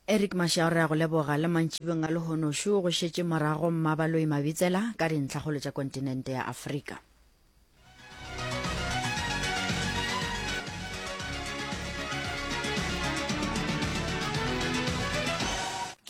Eric Mashau re a go leboga le mantšibeng a lehono šo go šetše morago Mmabaloi Mabitsela ka dintlhakgolo tša kontinente ya Afrika.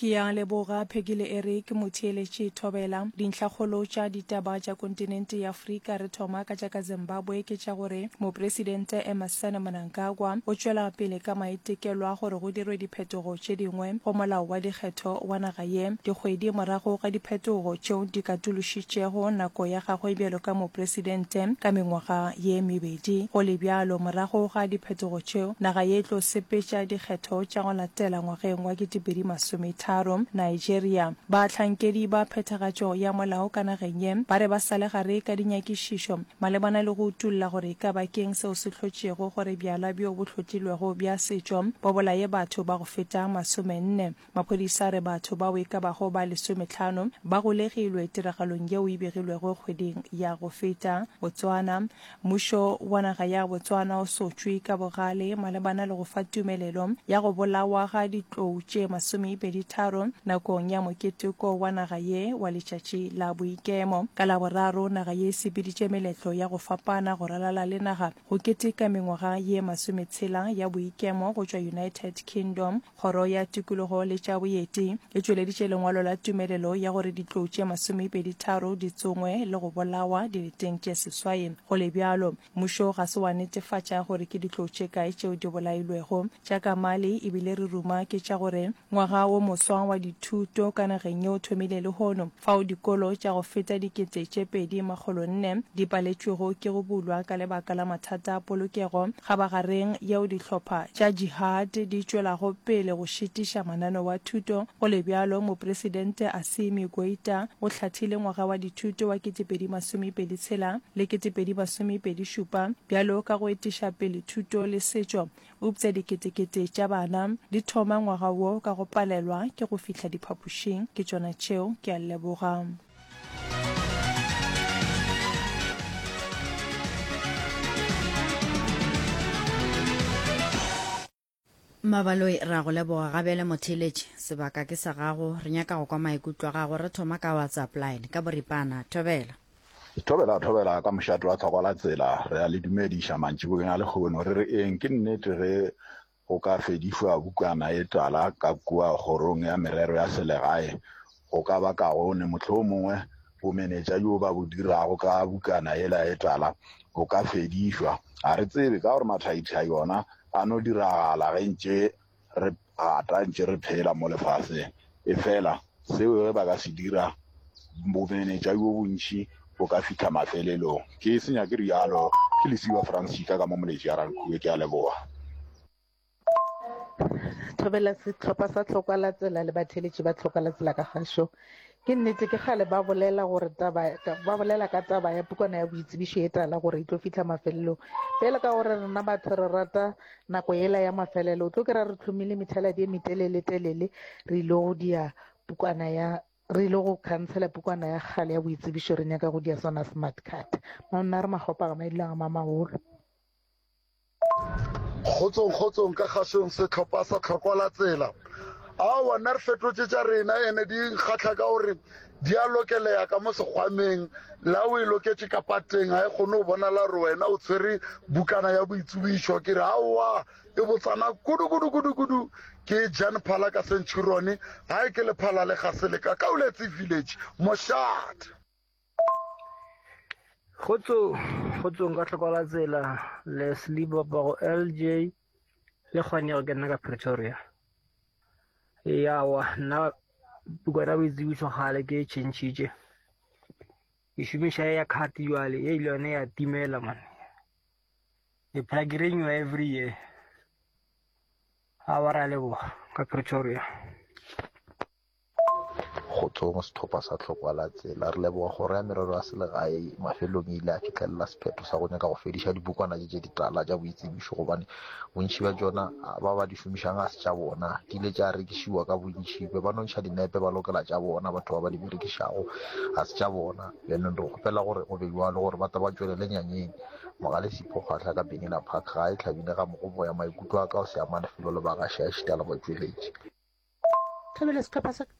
Ke a leboga Peggy le Eric Motheeletši Thobela. Dintlhakgolo tša ditaba tša kontinente ya Afrika re thoma ka tša ka Zimbabwe ke tša gore Mopresidente Emmerson Mnangagwa o tšwela pele ka maitekelo a gore go dirwe diphetogo tše dingwe go molao wa dikgetho wa naga ye, dikgwedi morago ga diphetogo tšeo di katološitšego nako ya gagwe bjalo ka mopresidente ka mengwaga ye mebedi. Go le bjalo, morago ga diphetogo tšeo, naga ye e tlo sepetša dikgetho tša go latela ngwageng wa 2030. Nigeria, Bahlankedi ba phethagatšo ya molao ka nageng ye ba re ba sa le gare ka dinyakišišo malebana le go utolla gore e ka ba ke'ng seo se hlotšego gore bjala bjo bo hlotlilwego bja setšo bo bolaye batho ba go feta masomenne. Maphodisa a re batho bao e ka bago ba lesometlhano ba golegilwe tiragalong yeo e begilwego kgweding ya go feta. Botswana, Mmušo wa naga ya Botswana o sotšwe ka bogale malebana le go fa tumelelo ya go bolawa ga ditlou tše masomepeditharo nakong ya moketeko wa naga ye wa letšatši la boikemo. Ka Laboraro, naga ye e sepeditše meletlo ya go fapana go ralala le naga go keteka mengwaga ye masometshela ya boikemo go tšwa United Kingdom Kgoro ya Tikologo le tša Boeti e tšweleditše lengwalo la tumelelo ya gore ditlou tše masomepeditharo di tsongwe le go bolawa dileteng tše seswai. Go le bjalo, mmušo ga se wa netefatša gore ke ditlou tše kae tšeo di bolailwego. Tša ka Mali e bile re ruma ke tša gore ngwaga wo moswa wa dithuto ka nageng ye o thomile lehono, fao dikolo tša go feta 2400 di paletšwego ke go bulwa ka lebaka la mathata a polokego Kgabagareng yeo dihlopha tša jihad di tšwelago pele go šitiša mananeo a thuto, go le bjalo, Mopresidente Assimi Goita o hlathile ngwaga wa dithuto wa 2026 le 2027 bjalo ka go etiša pele thuto le setšo, eupša diketekete tša bana di thoma ngwaga wo ka go palelwa ke go fihla diphapošing. Ke tšona tšeo, ke a leboga. Mabaloi re a go leboga gabele motheeletši sebaka ke sa gago re nyaka go kwa maikutlo a gago re thoma ka whatsapp line ka boripana thobela Thobela thobela ka mošate wa tlhokwa la tsela re a le dumediša mantšiboeng a lehono re re eng ke nnete ge Go ka fedišwa bukana ye tala ka kua Kgorong ya Merero ya Selegae go ka ba kaone. Mohlomongwe bomenetša bjo ba bo dirago ka bukana yela ye tala bo ka fedišwa. Ga re tsebe, ka gore mathaithai ona a no diragala ge ntše re gata, ntše re phela mo lefaseng. Efela seo ge ba ka se dira, bomenetša bjo bontši bo ka fihla mafelelong. Ke senya ke realo, ke Lesiba Francisca ka mo Moletši ya Rankuwe. Ke a leboga. Thobela sehlopha sa Tlhokwa la Tsela le batheeletši ba Tlhokwa la Tsela ka kgašo. Ke nnete ke kgale ba bolela gore taba ba bolela ka taba ya pukwana ya boitsebišo e tala gore e tlo fihla mafelelong. Bjale ka gore rena batho re rata nako yela ya mafelelo, o tlo kry-a re hlomile methaladi e metelele telele re ile go dia pukwana ya Re ile go khansela pukwana ya kgale ya boitsebišo re nyaka go dia sona smart card. Monna re makgopa ga maidilang a mamagolo. Kgotsong kgotsong ka kgašong sehlopha sa tlhokwa la tsela. Aowa nna re fetotše tša rena ene di nkgahla ka gore di a lokeleya ka mo sekgwameng la o e loketše ka pateng ga e kgone go bonala gore wena o tshwere bukana ya boitsebišo ke re aowa E botsana kudu kudu kudu kudu ke Jan Phala ka Centurion, gae ke Lephala le Gaseleka, Kauletse Village, Mošate. Kgotsong, kgotsong ka tlhoko la tsela Leslie Bapago LJ le kgone ke nna ka Pretoria. Yawa nna pukwana boitsebišo kgale ke e tšhentšhitše. Ke šomiša ya card jwale ye ile yone ya timela man. Ke phela ke renew every year. Awa ra leboga ka Pretoria. Kgotsong sehlopha sa Tlhokwa la Tsela. Re leboga Kgoro ya Merero ya Selegae mafelelong e ile ya fihlelela sephetho sa go nyaka go fediša dipukwana tše tše ditala tša boitsebišo gobane bontši bja tšona ba ba di šomišang ga se tša bona. Di ile tša rekišiwa ka bontši, be ba no ntšha dinepe ba lokela tša bona batho ba ba di berekišago ga se tša bona. Bjanong re kgopela gore go be bjalo gore ba tle ba tšwelele nyanyeng. Mogale Sipho Kgwahla ka Benina Park gae Hlabile ga Mogoboya maikutlo a ka o se amane felo le bagaši a ešita le batšweletši. Thobela sehlopha sa ka.